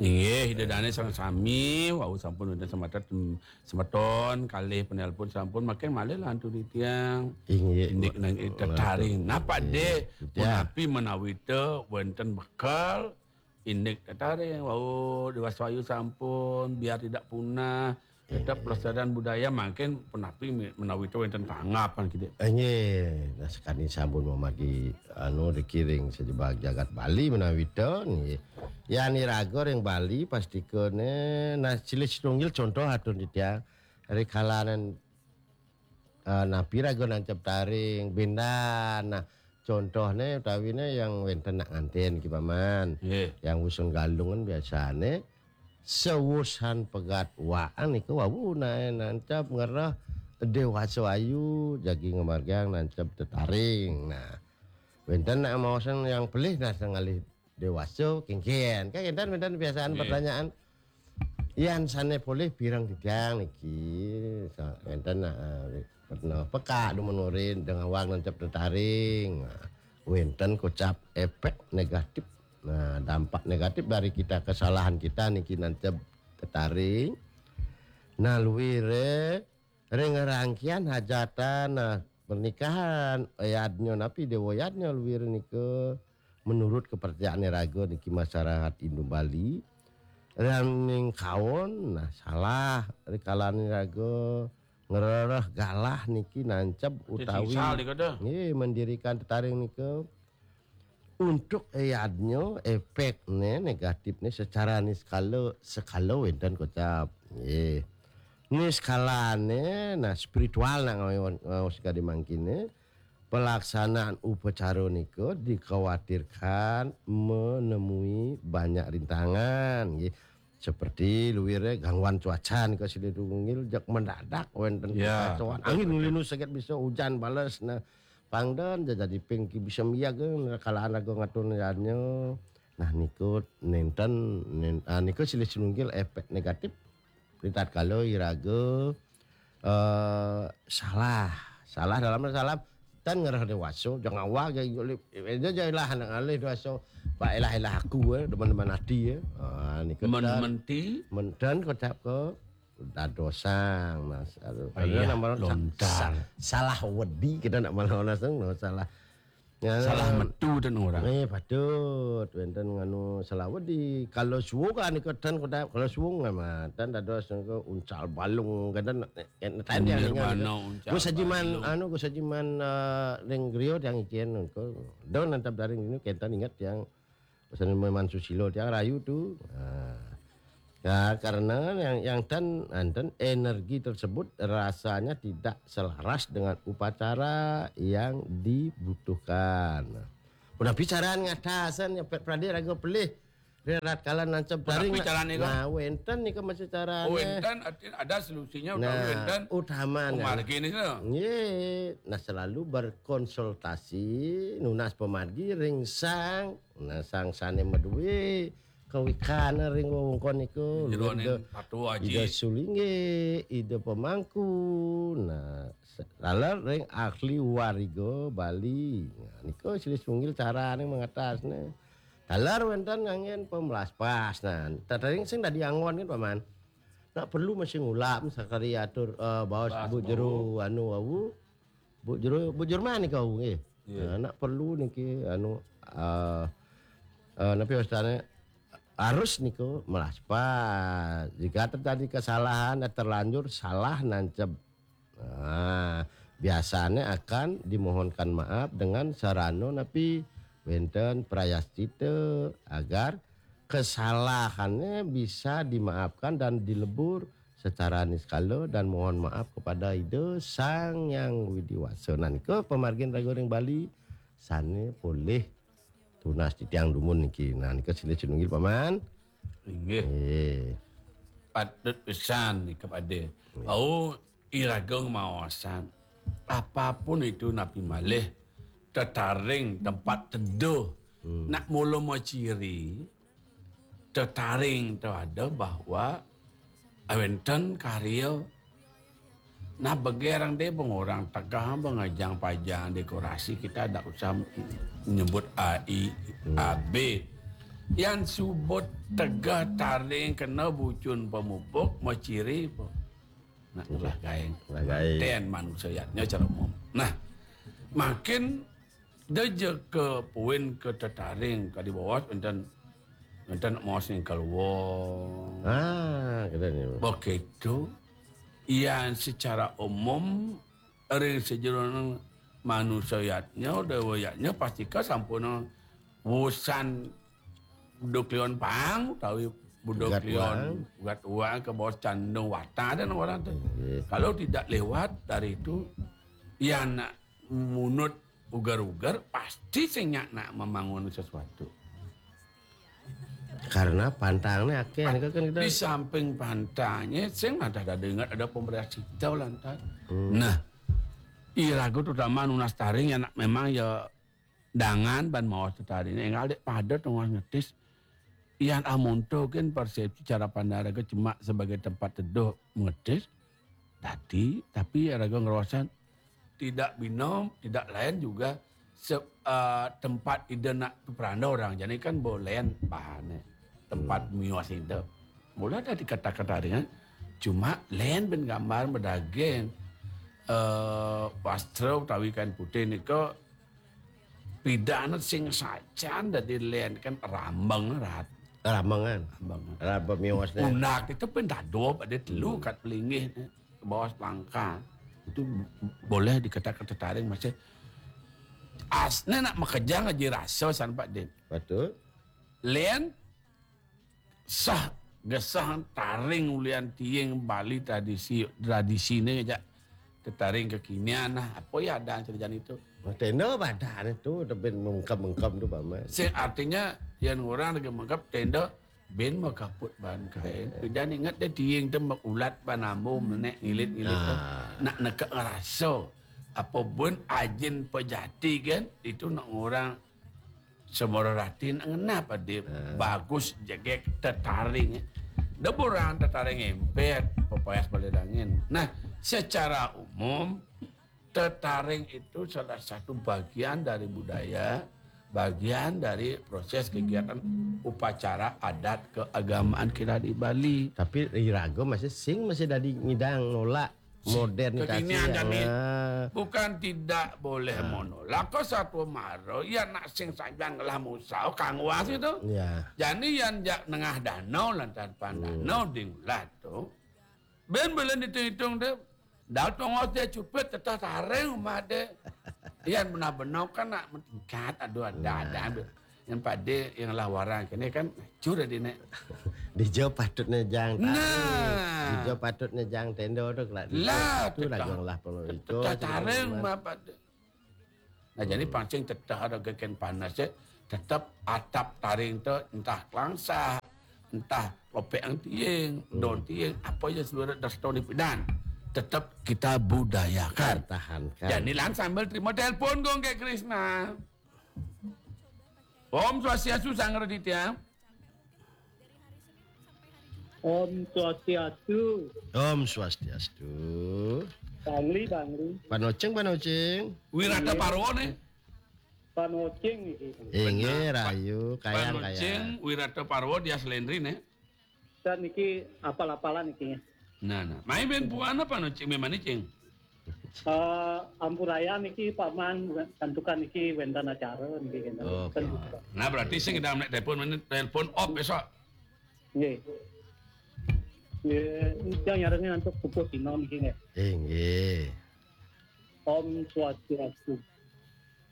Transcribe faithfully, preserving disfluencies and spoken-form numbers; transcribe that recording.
Inggih, Ida Dane sareng sami, wau sampun wonten semeton, semeton kalih penelpon sampun, makin malih lantur titiang. Inggih. Indik nang tetaring. Napa, Dik? Punapi menawi te wonten bekal indik tetaring, wau Dewasa Ayu sampun, biar tidak punah, tetap pelestarian budaya, makin punapi menawi te wonten tanggapan, Dik. Inggih, nah, sakadi sampun mamargi anu dikiring sajebag jagat Bali menawi te nggih. Yan iraga ring Bali pastikane, nah, silih sinunggil contoh atur titiang rikalanan, eh, napi raga nancep taring, bendan. Nah, contohne utawine yang wenten nak nganten ki Paman. Nggih. Yang wusan Galungan biasane sewusan pegat waan niku wau nae nancep ngereh Dewasa Ayu jagi ngamargiang nancep tetaring. Nah, wenten nak maosan yang pelih nah ngalih Dewasa kengken. Kan enten wenten biasaan pertanyaan. Yan sane polih pireng titiang niki. Sa-, wenten nah, eh, pernah peka dumun urin dengan wang nancep tetaring. Nah, wenten kocap efek negatif. Nah, dampak negatif dari kita, kesalahan kita niki nancep tetaring. Nah, luire ring rangkian hajatan, nah, pernikahan, yadnya napi dewa yadnya luire nika menurut kepercayaan raga niki masyarakat Hindu Bali. Ring kaon, nah, salah rikalane raga ngrereh galah niki nancep utawi sal nika dah. Nggih, mendirikan tetaring nika. Untuk eyadnya efekne negatifne secara niskala, sekala wenten kocap. Nggih. Niskalane, nah, spiritual nak ngawi-, ngaos kadi mangkine, pelaksanaan upacara nika dikhawatirkan menemui banyak rintangan, nggih. Seperti luire gangguan cuaca nika silih tunggil, jak mendadak wenten kekacauan. Angin linu seget bisa hujan bales, nah, pangden ja jadi ping ki bisa miag, eh, kalaan raga ngatur nyanyo. Nah, niku nenten, nen-, ah, niku silih sinunggil efek negatif. Ritatkala iraga, eh, salah. Salah dalam salah. Tan ngerah dewasa, jangan awak ja, ja, ja ilah anak ngalih dewasa. Pak ilah-ilah aku, eh, demen-demen hati, eh. Ah, niku tan. Menti? Menten kocap ke dadosang, nah, sa-, lontar. Sa-, salah wedi kita nak malah langsung, no, salah. Ya, salah metu dan orang. Eh, patut. Wenten nganu salah wedi. Kalau suwung kan nika tan kocap, kalau suwung mah tan dados nika uncal balung, kan tan, eh, tan yang ingat. Nirmana uncal balung. Gus Hajiman, anu, Gus Hajiman, eh, ring griya tiang icen nika. Don nantap daring ini, kenten ingat yang pesan memang susilo tiang rayu tu. Nah. Ya, karena yang, yang tan, anten energi tersebut rasanya tidak selaras dengan upacara yang dibutuhkan. Punapi caraan ngatasan ya, pet prade raga pelih. Rirat kala nancep taring. Punapi carane, kok? Nah, wenten nika masih carane. Oh, wenten, artinya ada solusinya, utawi wenten utamane. Pemargine, no? Nggih. Nah, selalu berkonsultasi, nunas pemargi ring sang, nah, sang sane maduwe kawikan ring wewengkon niku. Jeroning Ida, Patu Aji. Ida Sulingge, Ida Pemangku. Nah, se-, taler ring ahli wariga Bali. Nah, niku silih sinunggil carane mengatasne. Taler wenten nganggen pemelaspas. Nah, tetaring sing dadi anggon kan, Paman. Nak perlu masih ngulap sakadi atur, eh, baos Bu Jero anu wau. Bu Jero, Bu Jerman niku wau nggih. Iya. Nah, nak perlu niki anu, eh, eh, napi wastane harus niku melaspas. Jika terjadi kesalahan, terlanjur salah nancep. Nah, biasanya akan dimohonkan maaf dengan sarana napi wenten prayascita agar kesalahannya bisa dimaafkan dan dilebur secara niskala dan mohon maaf kepada Ida Sang Yang Widi Wasa. Nah, nika pamargin raga ring Bali sane polih tunas titiang dumun niki. Nah, nika silih sinunggil, Paman. Inggih. Nggih. Patut pisan nika pade. Nggih. Au iraga maosan. Apapun itu napi malih, tetaring tempat teduh. Hmm. Nak mula maciri, tetaring tu ada bahwa wenten karya nah, begerang deh, bang, orang tegah, bang, ngajang pajang dekorasi, kita ada usah nyebut A I, hmm, A B. Yan subut tegeh taring kena bucun pamupuk, maciri apa? Nak ngelah gaeng. Ngelah gaeng. Ten manusia yatnya cara umum. Nah, makin deje ke puin ke tetaring ka di bawah, enten, enten maos ning keluar. Ah, kata ni. Begitu, yan secara umum, ring sejeroning manusia yatnya, dewa yatnya, pastika sampun wusan budak lion pang, utawi budak lion ugat uang ke bawah candung wata dan orang tu. Nggih. Kalau tidak lewat dari itu, ya nak munut ugar-ugar, pasti sing nyak nak membangun sesuatu. Karena pantangnya akeh, kan kita di samping pantangnya, sing ada, ada ingat ada pembereas kita lantas. Hmm. Nah, iraga terutama nunas taring ya nak memang ya dangan ban maos tetaring. Enggal dek pada tengah ngetis. Yan amonto kan persepsi cara pandang raga cuma sebagai tempat teduh mengetis. Dadi, tapi raga ngerosan tidak bina, tidak lain juga se-, eh, tempat ida nak peranda orang. Jadi kan boleh bahane tempat mios ida. Boleh ada di kata-kata ringan. Cuma lain ben gambar medaging, eh, wastra utawi kain putih nika pidana sing sajan dadi lain kan rambeng rat. Rambengan. Rambeng. Rambeng miosnya. Unak itu pun dado pada telu kat pelinggih ke bawah pelangkar. Itu boleh dikatakan tetaring masih asne nak makejang aja rasa san Pak Din. Betul. Lain sah gesah taring ulian tiing Bali tradisi, tradisine aja tetaring kekinian nah apa ya ada cerita itu. Nah, tenda badan itu tebin mengkem-mengkem tu paman. Sing artinya yang orang lagi mengkep tenda ben makaput ban kain. Pidan ingat deh tiing tu ulat ban ambo menek ngilit-ngilit tu. Nah. Nak neka ngerasa apa ben ajin pejati kan itu nak orang Semara rati nak ngenap adi bagus jegek tetaring. Deburang tetaring empet, pepayas balik angin. Nah, secara umum tetaring itu salah satu bagian dari budaya, bagian dari proses kegiatan upacara adat keagamaan kita di Bali. Tapi iraga masih sing masih dadi ngidang nolak modernisasi kekinian jani. Bukan tidak boleh menolak. Kau satu mara, ya nak sing sanjang lah musau kangwas itu. Ya. Jani yan jak nengah danau lantaran pan danau ding ulat tu. Ben belen ditung-itung tu. Dal tongos dia cupit tetah taring rumah dia. Yan benar-benar kan nak meningkat aduh ada ada. Yang pada yang lah warang kini kan cur di nek. Dija patutnya jang tari. Nah. Dija patutnya jang tenda tu kelak. Lah, tu lagu lah perlu itu. Tetaring apa tu? Nah, jadi pancing tetap ada geken panas ya. Tetap atap taring tu entah kelangsa, entah lopek yang tiing, daun tiing, apa ya seluruh dasar di pidan. Tetap kita budayakan. Tahankan. Jadi lan sambil terima telepon gong kayak Krisna. Om Swastiastu, Sang Raditya. Om Swastiastu. Om Swastiastu. Bangli, Bangli. Panoceng, Panoceng. Wirata Parwa nih. Panoceng iki. Inggih, rahayu, kayang, kayang. Panoceng, Wirata Parwa, Dias Lendri nih. Dan niki apal-apalan niki. Nah, nah. Mai ben puan apa no cing memang ni cing? Eh, ampuraya niki paman santukan niki wénten acara niki kenten. Oke. Nah, berarti sing ngidang nek telepon, telepon off besok. Nggih. Nggih, yang nyarengin untuk pupus dino niki nggih. Inggih. Om Swastiastu.